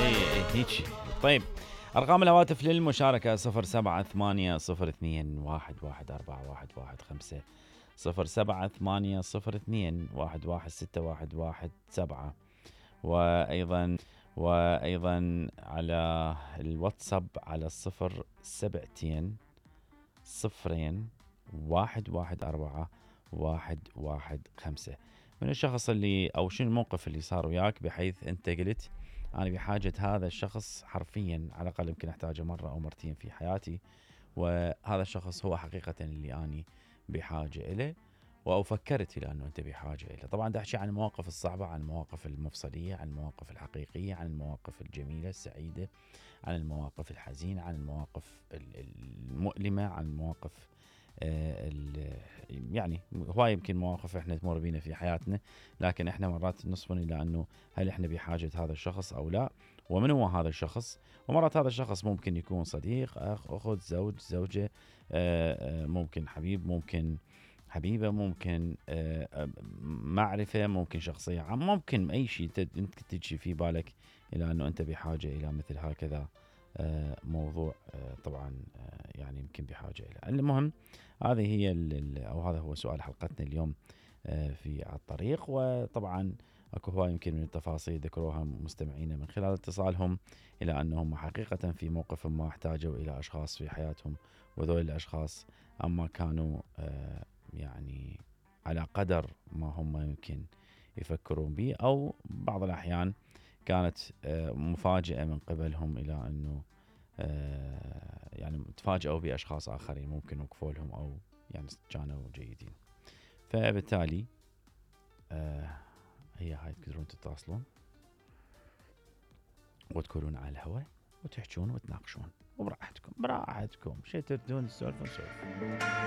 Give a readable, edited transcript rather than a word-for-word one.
اي هيجي. طيب ارقام الهواتف للمشاركه 078021114115 0780211611 وايضا على الواتساب على 07 0114 من الشخص اللي او شنو الموقف اللي صار وياك بحيث انت قلت انا بحاجه هذا الشخص حرفيا، على الاقل يمكن احتاجه مره او مرتين في حياتي، وهذا الشخص هو حقيقه اللي اني بحاجه اليه، او فكرت الى انه انت بحاجه اليه. طبعا دا احكي عن المواقف الصعبه، عن المواقف المفصليه، عن المواقف الحقيقيه، عن المواقف الجميله السعيده، عن المواقف الحزينه، عن المواقف المؤلمه، عن المواقف يعني هواي يمكن مواقف احنا تمر بينا في حياتنا، لكن احنا مرات نصفن الى انه هل احنا بحاجه هذا الشخص او لا، ومن هو هذا الشخص. ومرات هذا الشخص ممكن يكون صديق، اخ، اخت، زوج، زوجه، ممكن حبيب، ممكن حبيبه، ممكن معرفه، ممكن شخصيه عامه، ممكن اي شيء انت تجي في بالك الى انه انت بحاجه الى مثل هكذا موضوع. طبعا يعني يمكن بحاجه الى. المهم هذه هي او هذا هو سؤال حلقتنا اليوم في الطريق. وطبعا اكو هواي يمكن من التفاصيل ذكروها مستمعينا من خلال اتصالهم الى انهم حقيقه في موقف ما احتاجوا الى اشخاص في حياتهم، وذول الاشخاص اما كانوا يعني على قدر ما هم يمكن يفكرون به، او بعض الاحيان كانت مفاجأة من قبلهم الى انه يعني تفاجئوا باشخاص اخرين ممكن وقفوا لهم او يعني كانوا جيدين. فبالتالي هي هاي تقدرون تتصلون وتكونون على الهواء وتحجون وتناقشون وبراحتكم، براحتكم شي تردون تسولفون سولفون.